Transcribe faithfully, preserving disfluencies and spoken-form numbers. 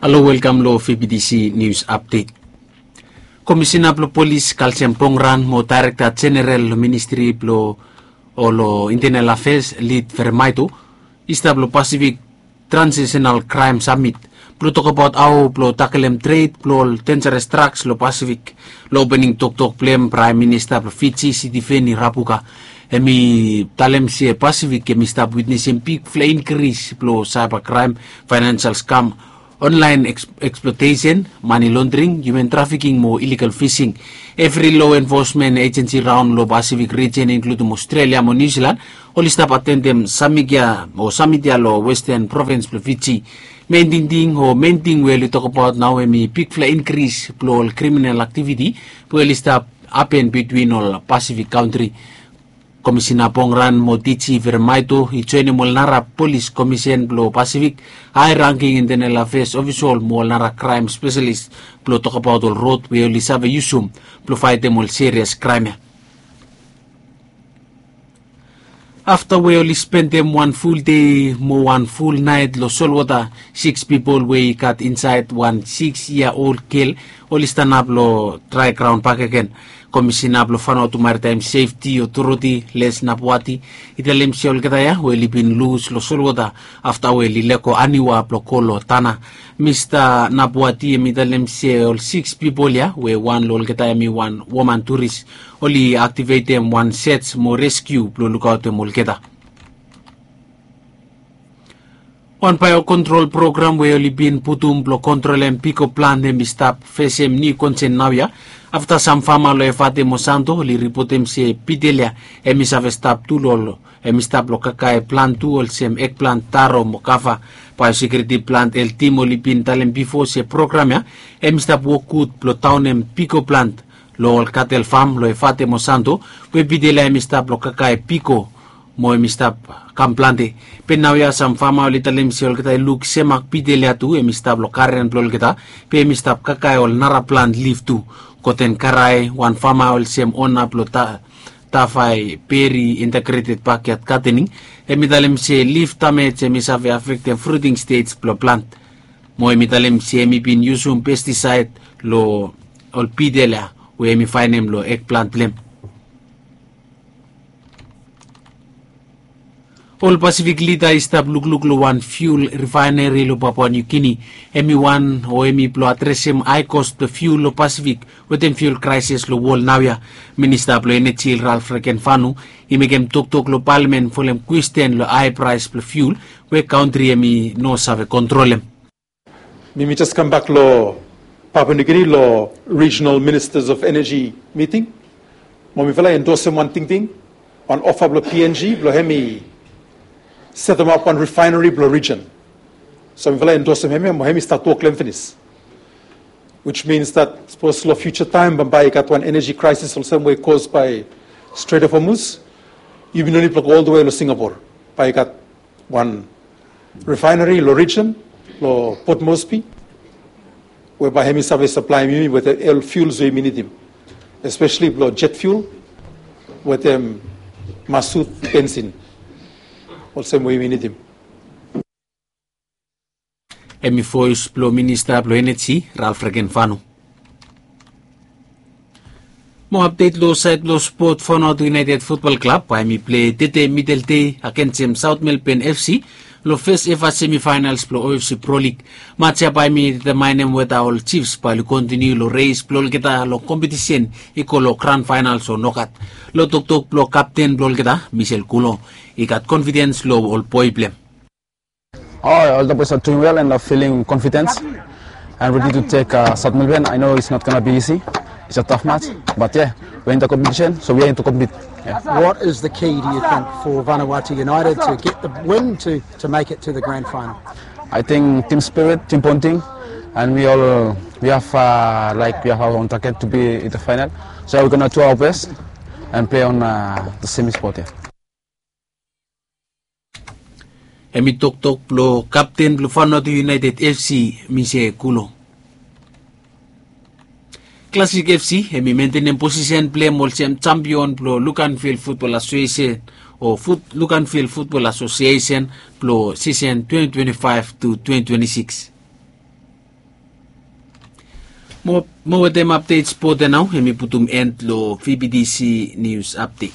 Halo, welkam lo F B T C News Update. Komisina blo Polis Kalsiam Pongran mo Daerekta Jeneral lo Ministri blo ol Internal Affairs, Lid Vermaito, i stap lo Pacific Transnational Crime Summit blo tokbaot hao blo takelem tred blo ol denjares draks lo Pasifik. Lo opening toktok blo hem, Praem Minista blo Fiji, Sitiveni Rabuka, hem i talem se Pasifik hem i stap witnesem bigfala inkris blo saiba kraem, faenensel skam, onlaen eksplotesen, mani londring, hiuman trafiking mo iligal fising. Evri lo enfosmen ejensi raon lo Pasifik rijen, inkludim Aostralia mo Niu Silan, oli stap atendem samit ya o samit ya lo Westen Provins blo Fiji. Men tingting o men ting we oli tokbaot nao hem i bigfala inkris blo ol kriminal aktiviti we oli stap hapen bitwin ol Pasifik kantri. Komisina Pongran mo D G Vermaito i joenem ol nara polis komisen blo Pasifik, hae rangking Internal Affairs ofisol mo ol nara kraem spesalis blo tokbaot ol rod we oli save yusum blo faetem ol serias kraem ya. Afta we oli spendem wan ful dei mo wan ful naet lo solwota, siks pipol we i gat insaed wan siks yia ol gel oli stanap lo drae graon bakegen. Komisina blo Vanuatu Maritime Safety Authority, Les Napuati, i talem se olgeta ya we oli bin lus lo solwota afta we oli lego aniwa blo go lo Tanna. Mista Napuati hem i talem se ol siks pipol ya, we wan lo olgeta hem i wan woman turis, oli aktivetem wan sej mo reskiu blo lukaotem olgeta. Wan baeo kontrol program we oli bin putum blo kontrolem piko plant hem i stap fesem niu konsen naoia, afta sam fama lo Efate mo Santo oli ripotem se bitel ya hem i save stap tu lo hem i stap lo kakae plant tu olsem ekplant, taro mo kava. Baeosekiuriti plant el tim oli bin talem bifo se program ya hem i stap wok gud blo daonem piko plant lo ol katel fam lo Efate mo Santo, we bitel ya hem i stap lo kakae piko mo hem i stap kam plante. Be naoia sam fama oli talem se olgeta i luk semak bitel ya tu hem i stap lo garen blo olgeta, be hem i stap kakae ol nara plant lif tu. Goten Karae, wan fama olsem ona blo Tavae Beri Integrated Backyard Gardening, hem i talem se lif damej hem i save afektem fruting stej blo plant. Mo hem i talem se hem i bin yusum pestisaed lo ol bitel ya we hem i faenem lo ekplant blo hem. Ol Pasifik lida i stap lukluk lo wan fiul rifaeneri lo Papua Niu Gini. Hem i wan o hem i blo adresem hae kos blo fiul lo Pasifik wetem fiul kraesis lo wol naoia. Minista blo Eneji, Ralph Regenvanu, i mekem toktok lo palamen folem kwesten lo hae praes blo fiul we kantri hem i no save kontrolem. Mi mi jes kambak lo Papua Niu Gini lo Regional Ministers of Energy miting. Mo mifala i endosem wan tingting, wan ofa blo P N G blo hem i setemap wan rifaeneri blo rijen. So mifala i endosem hem ya mo hem i stat wok lo hem finis. Which means that sapos lo fiuja taem bambae i gat wan eneji kraesis olsem we i kos bae Strait of Hormuz, yumi no nid blo go oltawe lo Singapore. Bae i gat wan rifaeneri lo rijen, lo Port Moresby, we bae hem i save saplaem yumi wetem ol fiuls we yumi nidim, espeseli blo jet fiul wetem masut bensin, olsem we yumi nidim. Hem i voes blo Minista blo Eneji, Ralph Regenvanu. Mo apdet lo saed blo spot, Vanuatu United Futbol Klab bae hem i plei tede mideldei agensem Saot Melben F C lo fes eva semifaenals blo O F C Pro Lig. Maj ya bae hem i detamaenem weta ol Chiefs bae oli kontiniu lo reis blo olgeta lo kompetisen i go lo gran faenals o nokat. Lo toktok blo kapten blo olgeta, Michel Kulo, i gat konfidens lo ol boe blo hem. Oh, all the boys are doing well and are feeling confident and ready to take uh, South Melbourne. I know it's not going to be easy. It's a tough match, but yeah, we're in the competition, so we're in to compete. Yeah. What is the key, do you think, for Vanuatu United to get the win to, to make it to the grand final? I think team spirit, team bonding, and we all we have uh, like we have our own target to be in the final. So we're gonna do our best and play on uh, the semi spot. Yeah. Hem i toktok blo kapten blo Vanuatu United F C, Michel Kulo. Classic F C hem i mentenem posisen blo hem olsem jampion blo Luganville Football Association o Luganville Football Association blo sisen twenty twenty-five to twenty twenty-six. Mo wetem apdet spot ya nao em i putum end long vbtc nius apdet.